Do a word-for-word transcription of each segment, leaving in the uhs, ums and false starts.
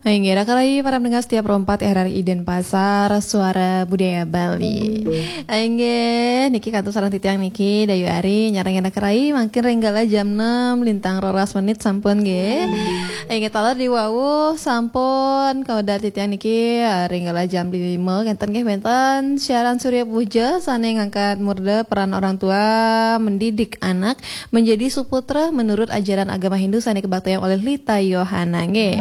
Inggih, raka rayi para pendengar setia Pro empat R R I Denpasar, Suara Budaya Bali. Inggih, niki kantun sareng titiang niki, Dayu Ari, nyarengin raka rayi, mangkin ring galah jam enam, lintang roras menit sampun nggih. Inggih, taler di wau sampun kawedar titiang niki, eh, ring galah jam lima, kenten nggih wenten siaran Surya Puja, sane ngangkat murda peran orang tua mendidik anak menjadi suputra menurut ajaran agama Hindu sane kabaktayang oleh Lita Yohana nggih.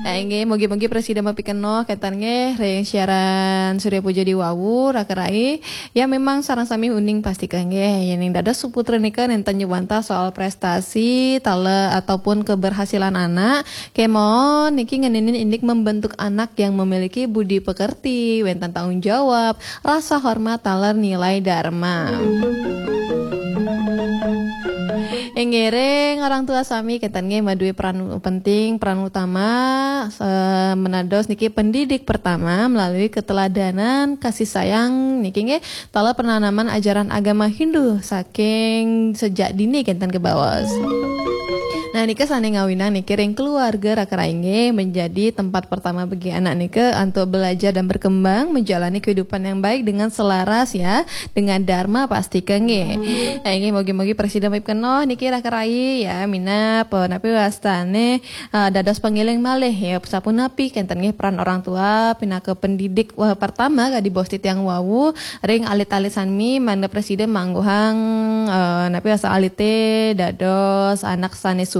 Eh, nggih, mugi-mugi prasida mapikenoh kenten nggih ring siaran Surya Puja di wau, raka rayi. Ya, memang sareng sami uning pastika nggih, yening dados suputra nika nenten nyuwantah soal prestasi, taler ataupun keberhasilan anak. Kemawon niki ngeninin indik membentuk anak yang memiliki budi pekerti, wenten tanggung jawab, rasa hormat taler nilai dharma. Inggih, ring orang tua sami kenten nggih maduwe peran penting, peran utama, eh, menados niki pendidik pertama melalui keteladanan, kasih sayang niki nggih, taler penanaman ajaran agama Hindu saking sejak dini kenten kebaos. Nah, nika sane ngawinang niki ring keluarga raka rayi nggih menjadi tempat pertama bagi anak nika untuk belajar dan berkembang menjalani kehidupan yang baik dengan selaras ya dengan dharma pastika nggih. Nah, inggih mugi-mugi prasida mapikenoh niki raka rayi ya minab, eh, napi wastane, eh, dados pangeling malih ya sapunapi kenten nggih peran orang tua pinaka pendidik, wah, pertama kadi bos titiang wau ring alit-alit sami mangda prasida mangguhang, eh, napi wasta alite dados anak sane suputra.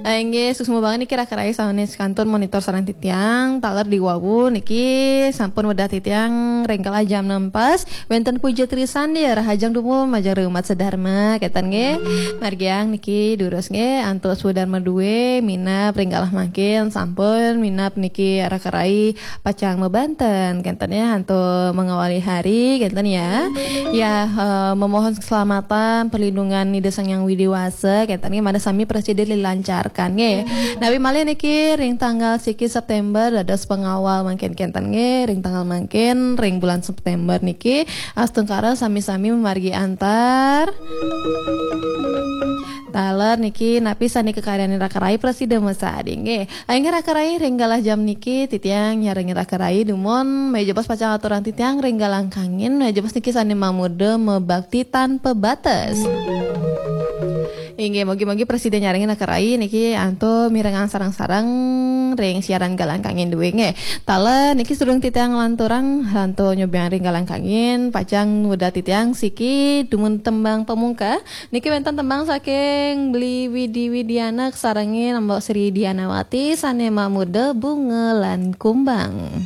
Eh, inggih, suksma banget niki raka rayi sane kantun monitor sareng titiang, taler di wau niki sampun wedah titiang ring kala jam enam pas, wenten puja trisandi, rahajeng dumun majeng ring umat sedharma, kenten nggih. Margiang niki durus nggih, antuk swadharma duwe, minab ring galah mangkin, sampun minab niki raka rayi pacang mabanten, kenten ya, antuk mengawali hari, kenten ya. Ya, eh, memohon keselamatan, perlindungan Ida Sang Hyang Widhi Wasa, kenten nggih, mangda sami prasida dilancarkan nggih. Napi malih niki ring tanggal siki September dados pengawal mangkin kenten nggih, ring tanggal mangkin ring bulan September niki astungkara sami-sami mamargi antar. Taler niki napi sane kakaryanin raka rayi prasida masadi nggih. Inggih raka rayi ring galah jam niki titiang nyarengin raka rayi dumun, maya jebos pacang aturang titiang ring galang kangin, maya jebos niki sane mamurda mabakti tanpa batas. Inggih, mugi-mugi prasida nyarengin raka rayi niki antuk mirengang sareng-sareng ring siaran galang kangin duwe nggih. Taler niki sadurung titiang nglanturang, antuk nyobiahang ring galang kangin, pacang wedah titiang siki dumun tembang pamungka. Niki wenten tembang saking Bli Widi Widiana kasarengin Mbok Sri Dianawati sane mamurda Bunga lan Kumbang.